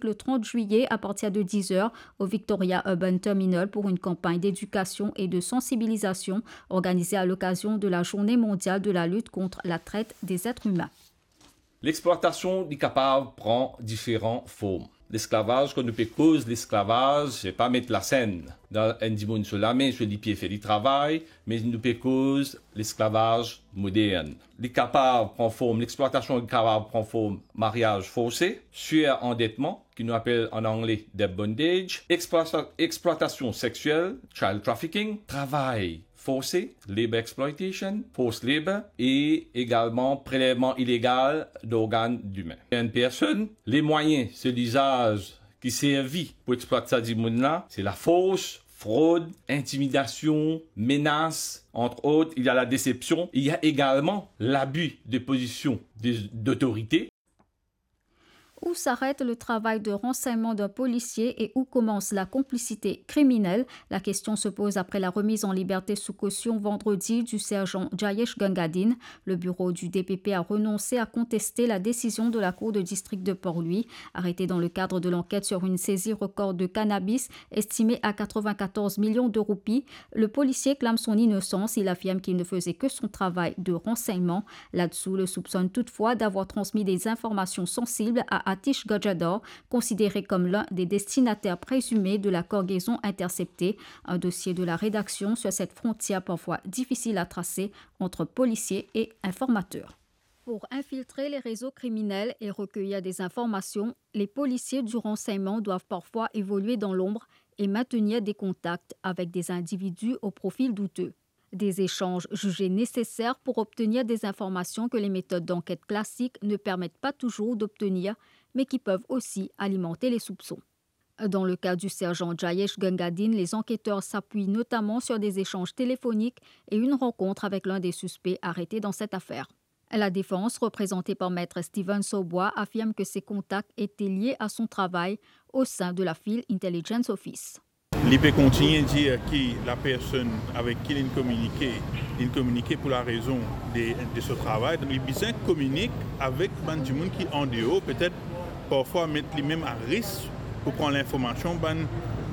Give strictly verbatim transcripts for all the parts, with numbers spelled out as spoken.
le trente juillet à partir de dix heures au Victoria Urban Terminal pour une campagne d'éducation et de sensibilisation organisée à l'occasion de la Journée mondiale de la lutte contre la traite des êtres humains. Lexplwatasion, li kapav pran diferan form. Lesklavaz, kan nou pe koz lesklavaz, se pa met lasenn dan enn dimoun so lame, so lipie, fer li travay, me nou pe koz lesklavaz modern. Li kapav pran form, lexplwatasion li kapav pran form maryaz forse, surandetman, ki nou apel an angle debt bondage, explwata-, explwatasion sexiel, child trafficking, travay forse, labour exploitation, forced labour, e egalman prelevman ilegal d'organ dimin. Enn personn, lemwayin, se lizaz ki servi pou explwat sa dimoun la, se lafors, frod, intimidasion, menas, entre autres, il y a la déception, il y a également l'abus de position de, d'autorité. Où s'arrête le travail de renseignement d'un policier et où commence la complicité criminelle ? La question se pose après la remise en liberté sous caution vendredi du sergent Jayesh Gangadhine. Le bureau du D P P a renoncé à contester la décision de la Cour de district de Port-Louis. Arrêté dans le cadre de l'enquête sur une saisie record de cannabis estimée à quatre-vingt-quatorze millions de roupies, le policier clame son innocence. Il affirme qu'il ne faisait que son travail de renseignement. Là-dessous, le soupçonne toutefois d'avoir transmis des informations sensibles à Atish Gajadhar, considéré comme l'un des destinataires présumés de la cargaison interceptée. Un dossier de la rédaction sur cette frontière parfois difficile à tracer entre policiers et informateurs. Pour infiltrer les réseaux criminels et recueillir des informations, les policiers du renseignement doivent parfois évoluer dans l'ombre et maintenir des contacts avec des individus au profil douteux. Des échanges jugés nécessaires pour obtenir des informations que les méthodes d'enquête classiques ne permettent pas toujours d'obtenir, mais qui peuvent aussi alimenter les soupçons. Dans le cas du sergent Jayesh Gangadhine, les enquêteurs s'appuient notamment sur des échanges téléphoniques et une rencontre avec l'un des suspects arrêtés dans cette affaire. La défense, représentée par Maître Steven Saubois, affirme que ces contacts étaient liés à son travail au sein de la Field Intelligence Office. Li pe kontigne dir ki lapersonn avek ki linn kominike, linn kominike pou larezon de, de so travay. Donk, li bizin kominik avek bann dimoun ki andeor, petet parfwa met limem a risk pou pran linformasion bann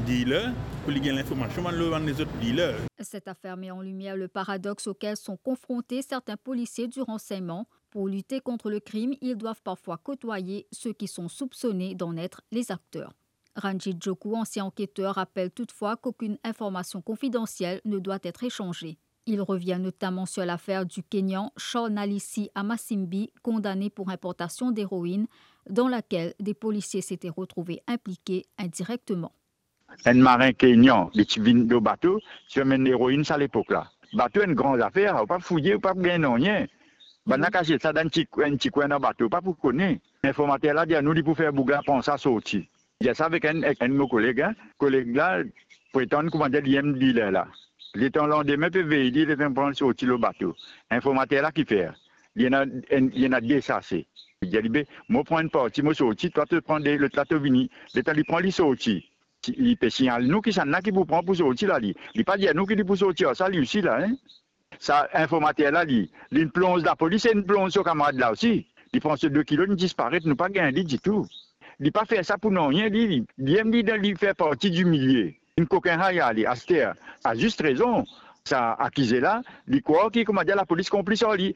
dealer, pou li gagn linformasion bann lor bann lezot dealer. Cette affaire met en lumière le paradoxe auquel sont confrontés certains policiers du renseignement. Pour lutter contre le crime, ils doivent parfois côtoyer ceux qui sont soupçonnés d'en être les acteurs. Ranjit Joku, ancien enquêteur, rappelle toutefois qu'aucune information confidentielle ne doit être échangée. Il revient notamment sur l'affaire du Kenyan Charnalisi Amasimbi, condamné pour importation d'héroïne, dans laquelle des policiers s'étaient retrouvés impliqués indirectement. Enn marin Kenyan, li ti vinn lor bato, ti amenn leroinn sa lepok la. Bato enn gran zafer, ou pa fouye, ou pa gagn nanye. Bannla kaze sa dan enn ti, enn ti kwin dan bato, ou pa pou kone. Informater la dir nou li pou fer boug la pran sa sorti. Dir sa avek enn, ek enn mo koleg, hein. Koleg la pretann koumadir li enn dealer la. Letan landime pe vey li, letan pran sorti lor bato. Informater la ki fer? Li ena enn, li ena de sase. Li dir li, be, mo pran enn parti, mo sorti, twa to pran de, lot la to vini. Letan li pran, li sorti. Ti, li pe signal nou kisannla ki pou pran pou sorti la, li. Li pa dir nou ki li pou sorti ar sa, li osi la, hein. Sa informater la, li, li plonz lapolis e li plonz so kamarad la osi. Li pran so de kilo, li disparet, nou pa gagn li ditou. Li pa fer sa pou nanye, li, li, li, li, li fer parti di milie. Enn kokin hay ale, aster, a zis rezon, sa akize la, li krwar ki, koumadir, lapolis konplis ar li.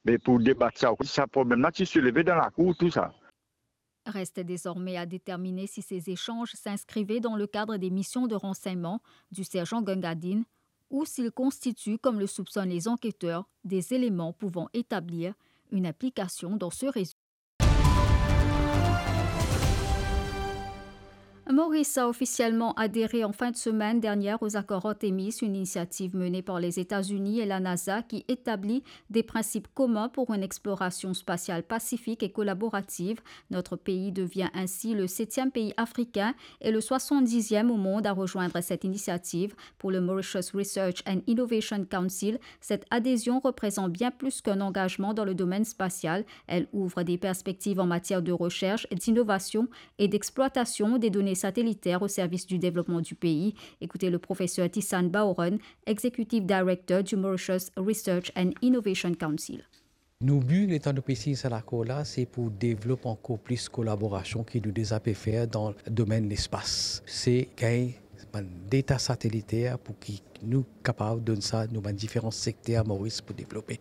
Me pou debat sa, sa problem la ti souleve dan lakour, tou sa. Reste désormais à déterminer si ces échanges s'inscrivaient dans le cadre des missions de renseignement du sergent Gangadhine ou s'ils constituent, comme le soupçonnent les enquêteurs, des éléments pouvant établir une implication dans ce réseau. Maurice a officiellement adhéré en fin de semaine dernière aux accords Artemis, une initiative menée par les États-Unis et la NASA qui établit des principes communs pour une exploration spatiale pacifique et collaborative. Notre pays devient ainsi le septième pays africain et le soixante-dixième au monde à rejoindre cette initiative. Pour le Mauritius Research and Innovation Council, cette adhésion représente bien plus qu'un engagement dans le domaine spatial. Elle ouvre des perspectives en matière de recherche, d'innovation et d'exploitation des données satellitaires au service du développement du pays. Écoutez le professeur Tissan Baoron, Executive Director du Mauritius Research and Innovation Council. Nou bi, letan nou pe sign sa lakor la, se pou devlop ankor plis kolaborasion ki nou deza pe fer dan domenn lespas. Se gagn bann deta sateliter pou ki nou kapav donn sa nou bann diferan sekter Moris pou devlope.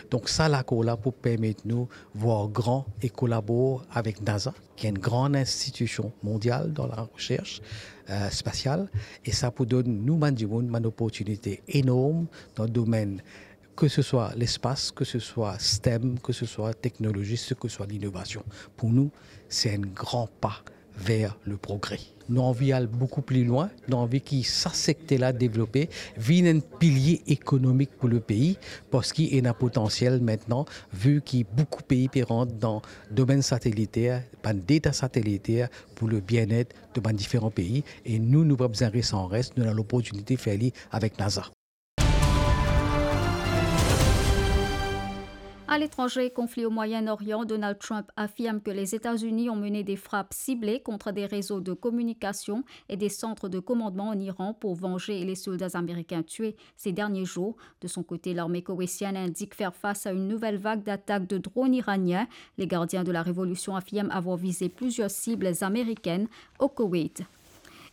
Donk sa lakor la pou permet nou vwar gran e kolabor avek NASA, ki enn gran institision mondial dan laresers, eh, spasial, e sa pou donn nou bann dimoun bann oportinite enorm dan domenn ke se swa lespas, ke se swa STEM, ke se swa teknolozi, ke se swa linovasion. Pou nou, se enn gran pa ver le progre. Nou anvi al boukou pli lwin, nou anvi ki sa sekter la devlope, vinn enn pilie ekonomik pou le pei, parski ena potansiel aster, vi ki boukou pei pe rant dan domenn sateliter, bann deta sateliter pou le bienet de bann diferan pei, e nou, nou pa bizin res an res, nou ena loportinite fer li avek NASA. À l'étranger, conflit au Moyen-Orient, Donald Trump affirme que les États-Unis ont mené des frappes ciblées contre des réseaux de communication et des centres de commandement en Iran pour venger les soldats américains tués ces derniers jours. De son côté, l'armée koweïtienne indique faire face à une nouvelle vague d'attaques de drones iraniens. Les gardiens de la révolution affirment avoir visé plusieurs cibles américaines au Koweït.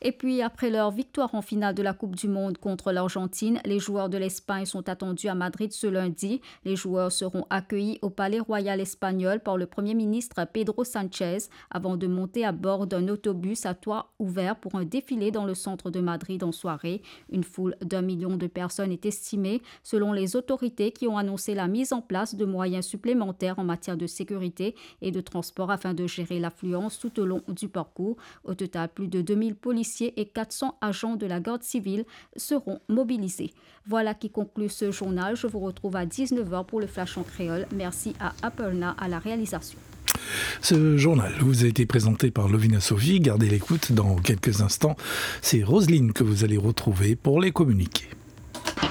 Et puis, après leur victoire en finale de la Coupe du Monde contre l'Argentine, les joueurs de l'Espagne sont attendus à Madrid ce lundi. Les joueurs seront accueillis au Palais Royal espagnol par le Premier ministre Pedro Sánchez avant de monter à bord d'un autobus à toit ouvert pour un défilé dans le centre de Madrid en soirée. Une foule d'un million de personnes est estimée, selon les autorités qui ont annoncé la mise en place de moyens supplémentaires en matière de sécurité et de transport afin de gérer l'affluence tout au long du parcours. Au total, plus de deux mille policiers et quatre cents agents de la garde civile seront mobilisés. Voilà qui conclut ce journal. Je vous retrouve à dix-neuf heures pour le Flash en créole. Merci à Aparna à la réalisation. Ce journal vous a été présenté par Lovina Sophie. Gardez l'écoute, dans quelques instants, c'est Roselyne que vous allez retrouver pour les communiqués.